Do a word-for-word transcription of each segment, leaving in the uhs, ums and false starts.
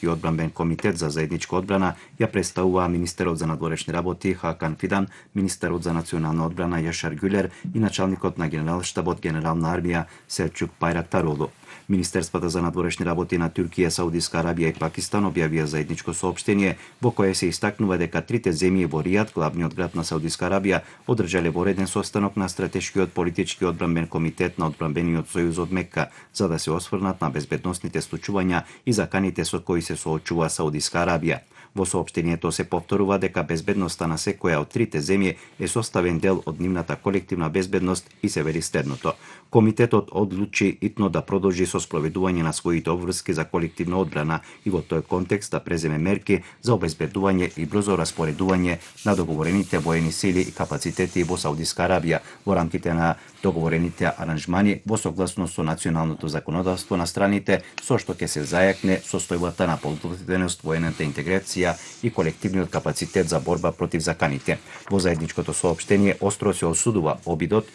и одбранбен комитет за заедничка одбрана ја представуваа министерот за надворешни работи Хакан Фидан, министерот за национална одбрана Јашар Гюлер и началникот на генералштабот генерална армија Селчук Байрактаролу. Министерствата за надворешни работи на Туркија, Саудиска Арабија и Пакистан објавија заедничко соопштение во кое се истакнува дека трите земји во Ријад, главниот град на Саудиска Арабија, одржале вореден состанок на стратешкиот политички одбранбен комитет на одбранбениот сојуз од Мекка за да се осврнат на безбедносните случувања и заканите со кои се соочува Саудиска Арабија. Во соопштението се повторува дека безбедноста на секоја од трите земји е составен дел од нивната колективна безбедност и се вели следното. Комитетот одлучи итно да продолжи со спроведување на своите обврски за колективна одбрана и во тој контекст да преземе мерки за обезбедување и брзо распоредување на договорените воени сили и капацитети во Саудиска Арабија во рамките на договорените аранжмани во согласност со националното законодавство на страните, со што ќе се зајакне состојбата на подготвеност, воената интеграција и колективниот капацитет за борба против заканите. Во заедничкото соопштение остро се осудува обидот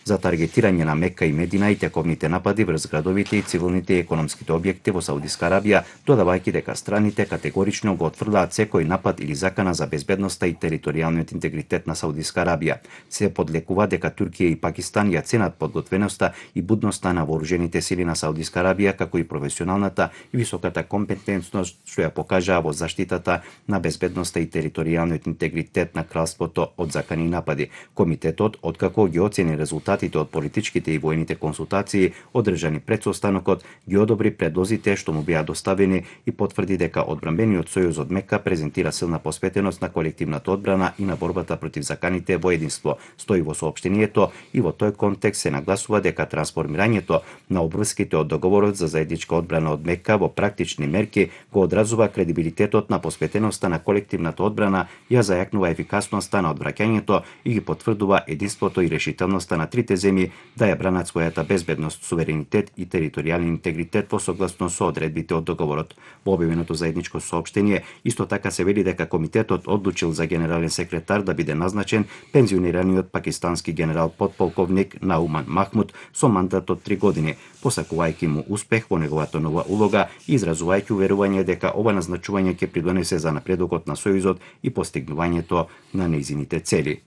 за таргетирање на Мека и Медина и тековните напади врз градовите и цивилните и економските објекти во Саудиска Арабија, додавајќи дека страните категорично го отфрлаат секој напад или закана за безбедноста и територијалниот интегритет на Саудиска Арабија. Се подлекува дека Туркија и Пакистан ја ценат подготвеноста и будноста на вооружените сили на Саудиска Арабија, како и професионалната и високата компетентност што ја покажаа во заштитата на безбедноста и територијалниот интегритет на кралството од закани и напади. Комитетот, откако ги оцени резултатите од политичките и воените консултации одржани пред состанокот, ги одобри предлозите што му беа доставени и потврди дека одбранбениот сојуз од Мека презентира силна посветеност на колективната одбрана и на борбата против заканите во единство. Стои во соопштението и во тој контекст се нагласува дека трансформирањето на обврските од договорот за заедничка одбрана од Мека во практични мерки го одразува кредибилитетот на посветеноста на колективната одбрана, ја зајакнува ефикасноста на одвраќањето и ги потврдува единството и решителноста на трите земји да ја бранат својата безбедност, суверенитет и територијален интегритет во согласност со одредбите од договорот. Во објавеното заедничко соопштение исто така се вели дека комитетот одлучил за генерален секретар да биде назначен пензионираниот пакистански генерал подполковник Науман Махмуд со мандат од три години, посакувајќи му успех во неговата нова улога и изразувајќи уверување дека ова назначување ќе придонесе за напредокот на сојузот и постигнувањето на нејзините цели.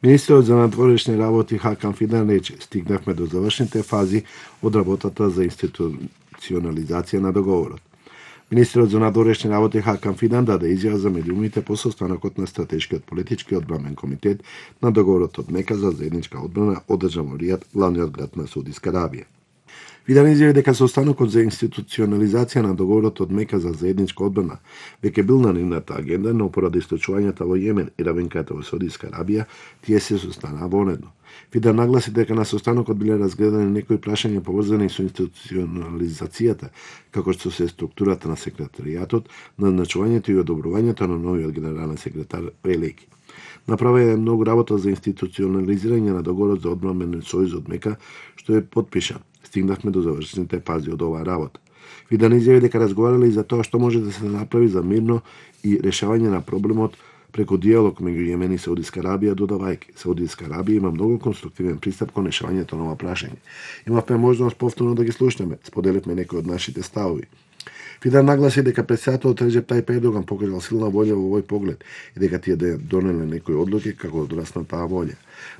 Министерот за надворешни работи Хакан Фидан рече: стигнавме до завршните фази од работата за институционализација на договорот. Министерот за надворешни работи Хакан Фидан даде изјава за медиумите по состанокот на стратешкиот политички одбранбен комитет на договорот од Мека за заедничка одбрана одржан во Ријад, главниот град на Саудиска Арабија. Фидан изјави дека состанокот за институционализација на договорот од Мека за заедничка одбрана веќе бил на нивната агенда, но поради случувањата во Јемен и равенката во Саудиска Арабија, тие се состанаа вонедно. Фидан нагласи дека на состанокот биле разгледани некои прашања поврзани со институционализацијата, како што се структурата на секретаријатот, назначувањето и одобрувањето на новиот генерален секретар Велеки. Направи е многу работа за институционализирање на договорот за одбранбен сојуз од Мека, што е подпишан. Стигнавме до завршените фази од оваа работа. Фидан изјави дека разговарале и за тоа што може да се направи за мирно и решавање на проблемот преку диалог меѓу Јемен и Саудиска Арабија, додавајќи: Саудиска Арабија има многу конструктивен пристап кон решавањето на ова прашање. Имавме можност повторно да ги слушнеме, споделивме некои од нашите ставови. Фидан нагласи дека претседателот Реџеп Тајип Ердоган покажал силна волја во овој поглед и дека тие да донеле некои одлуки како одраз на таа волја.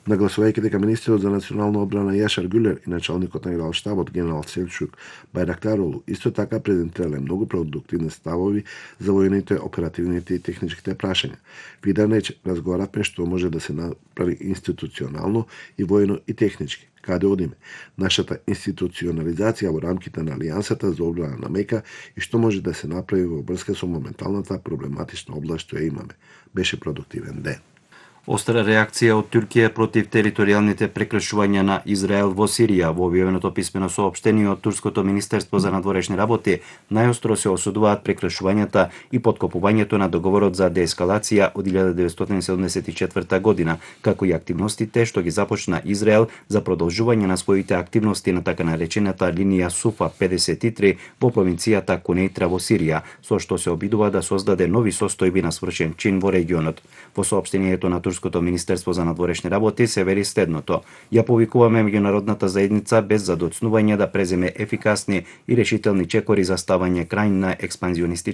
Нагласувајќи дека министерот за национална одбрана Јашар Гюлер и началникот на генералштабот генерал Селчук Байрактаролу исто така презентирале многу продуктивни ставови за воените, оперативните и техничките прашања. Фидан рече: разговаравме што може да се направи институционално и воено и технички. Каде одиме? Нашата институционализација во рамките на Алијансата за одбрана на Мека и што може да се направи во врска со моменталната проблематична област што ја имаме. Беше продуктивен ден. Остра реакција од Туркија против територијалните прекршувања на Израел во Сирија. Во објавеното писмено соопштение од Турското министерство за надворешни работи најостро се осудуваат прекршувањата и подкопувањето на договорот за деескалација од илјада деветстотини седумдесет и четврта година, како и активностите што ги започна Израел за продолжување на своите активности на така наречената линија Суфа педесет и три во провинцијата Кунейтра во Сирија, со што се обидува да создаде нови состојби на свршен чин во регионот. Во соопштението на турското Министерство за надворешни работи се вели следното: ја повикуваме меѓународната заедница без задоцнување да преземе ефикасни и решителни чекори за ставање крај на експанзионистички